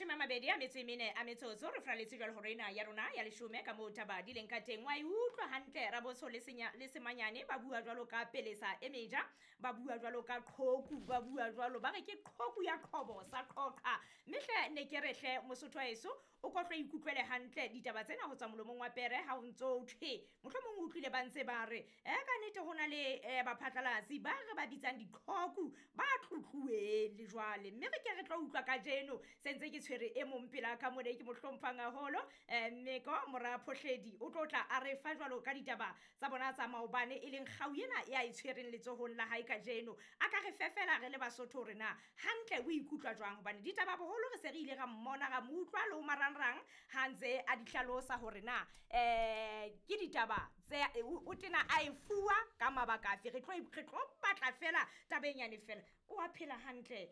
Mashome a mabedi a metso e mene a metsotso re fraletse jwalo hore ena ya rona ya leshome ka moo taba di leng ka teng. Wa e utlwa hantle Rabotsho le Senya le Semanyane ba bua jwalo ka pelesa e meja, ba bua jwalo ka qhoku, ba bua jwalo ba re ke qhoku ya qhobo sa qhoqa. Mme hle ne ke re hle Mosotho wa heso o ko hlo ikutlwele hantle ditaba tsena ho tswa molomong wa pere ha o ntso thwe mohlomong o utlwile ba ntse ba re e ka nnete ho na le baphatlalatsi ba re ba bitsang diqhoku ba tlotluweng le jwale. Mme re ke re tlo utlwa kajeno se ntse ke tshwere e mong pela ka mona e ke mo hlomphang haholo, Mmeko mora Phohledi o tlo tla a re fa jwalo ka ditaba tsa bona tsa maobane e leng kgau ena ya e tshwereng letsohong la hae kajeno. A ka re fefela re le Basotho hore na hantle o ikutlwa jwang, hobane ditaba boholo re se re ile ra mmona ra mo utlwa le ho marangrang ha ntse a di hlalosa hore na ke ditaba tse o tena a e fuwa ka mabaka afe. Re tlo batla fela taba e nyane fela. O a phela hantle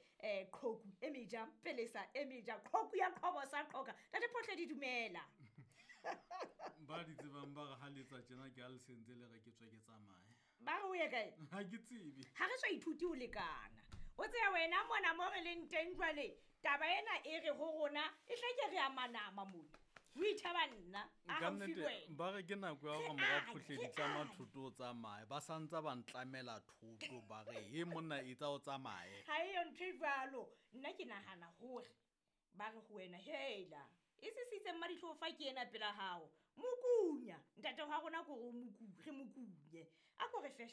qhoku e meja pelesa e meja qhoku ya qhobo sa qhoka. Ntate Phohledi dumela. Ba di tsebang ba re ha letsa tjena ke ha le sentse le re ke tswe ke tsamaye. Ba re o ye kae? Ha ke tsebe. Ha re so ithuti ho lekana. O tseba wena mona mo re leng teng jwale taba ena e re ho rona e hleke re a manama mona. O ithaba nna a Ka haufi nnete, le wena. ba re ke nako ya hore Re mora a, Phohledi re tlama a. thoto o tsamaye. Ba sa ntsa ba ntlamela thoto ba re he monna etsa o tsamaye. Ha eyo ntho e jwalo. Nna ke nahana hore ba re ho wena hela e sisitse mmadihlo fa ke ena pela hao. Mokunya ntate wa rona ko re mokunye. A ko re fe